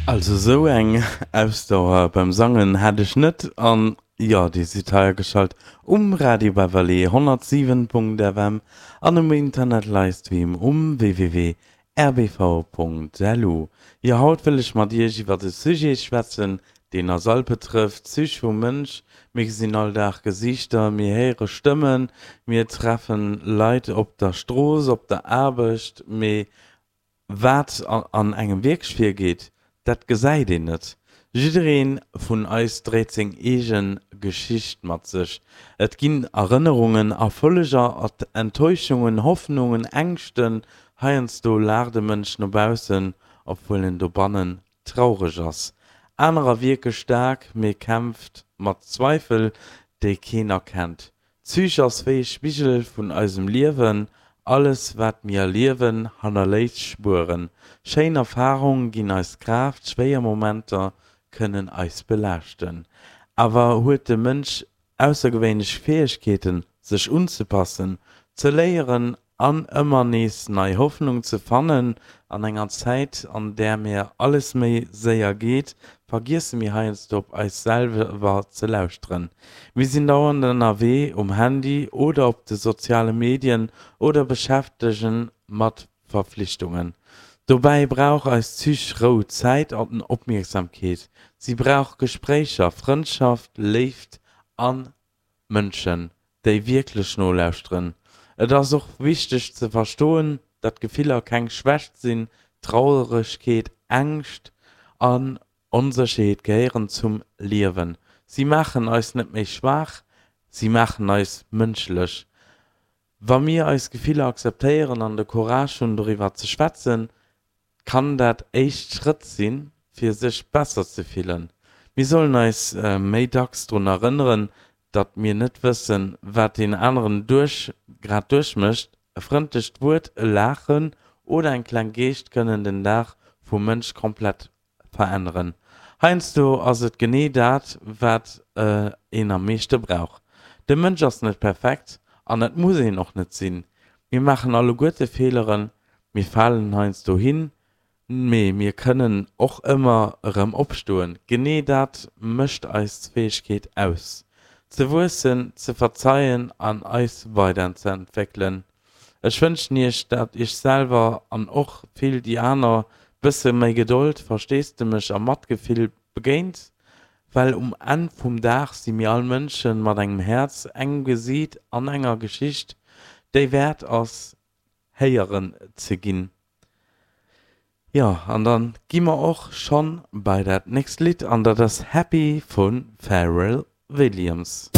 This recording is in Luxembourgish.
Also sou eng Ausdauer beim Sangen hat ech net an jo, dir sidd hei ageschalt um Radio Beverly 107.fm an um Internet Livestream um www.rbv.lu. Jo, haut wëll ech mat iech iwwert e Sujet schwätzen, deen eis all betrëfft, D'Sich vum Mënsch. Mir gesinn all Dag Gesiichter, mir héiere Stëmmen, mir treffen Leit op der Strooss, op der Aarbecht, mee Wat an engem wierklech virgeet, dat gesäit een net. Jidderee vun eis dréit seng eege Geschicht mat sech. Et ginn Erënnerungen, Erfolleger, Enttäuschungen, Hoffnungen, Ängschten. Heiansdo laacht e Mënsch no baussen, obwuel en dobannen traureg ass. Anerer wierke staark, mee kämpft mat Zweifel, déi keen erkennt. D'Psych ass wéi e Spigel vun eisem Liewen, alles wat mir erliewen hannerléisst Spueren. Schéin Erfarunge ginn eis Kraaft, schwéier Momenter kënnen eis belaaschten. Awer huet de Mënsch aussergewéinlech Fäegkeeten, sech unzepassen, ze léieren an ëmmer nees nei Hoffnung ze fannen. An enger Zäit, an där mir alles méi séier geet, vergiesse mir heiansdo op eis selwer ze lauschteren. Mir sinn dauernd ënnerwee, um Handy oder op de soziale Medien oder beschäftegen mat Verflichtungen. Dobäi brauch eis Psych Rou, Zäit an Opmierksamkeet. Si brauch Gespréicher, Frëndschaft, Léift an Mënschen, déi wierklech nolauschteren. Et ass och wichteg ze verstoen, datt Gefiller keng Schwächt sinn. Trauregkeet, Ängscht an Onsécherheet gehéieren zum Liewen. Si maachen eis net méi schwaach, si maachen eis mënschlech. Wa mir eis Gefiller akzeptéieren an de Courage hunn, doriwwer ze schwätzen, kann dat éischt Schrëtt sinn, fir sech besser ze fillen. Mir sollen eis méi dacks drun erënneren, datt mir net wëssen, wat deen aneren duerch grad duerchmécht. E frëndlecht Wuert, e Laachen oder eng kleng Geescht kënnen den Dag vum Mënsch komplett veränneren. Heiansdo ass et genee dat, wat een am meeschte brauch. De Mënsch ass net perfekt an dat muss een och net sinn. Mir maachen alleguerte Feeleren, mir falen heiansdo hin, mee mir kënnen och ëmmer erëm opstoen. Genee dat mécht eis Fäegkeet aus, ze wuessen, ze verzeien an eis weiderzeentwéckelen. Ech wënschen iech dat iech selwer an och vill déi aner bësse méi Gedold, Versteesdemech a Matgefill begéint, well um Enn vum Dag si mir all Mënschen mat engem Häerz, engem Gesiit an enger Geschicht, déi wäert ass héieren ze ginn. Jo, an dann gi mer och schonn bei dat nächst Lidd an dat ass Happy vu Pharrell Williams.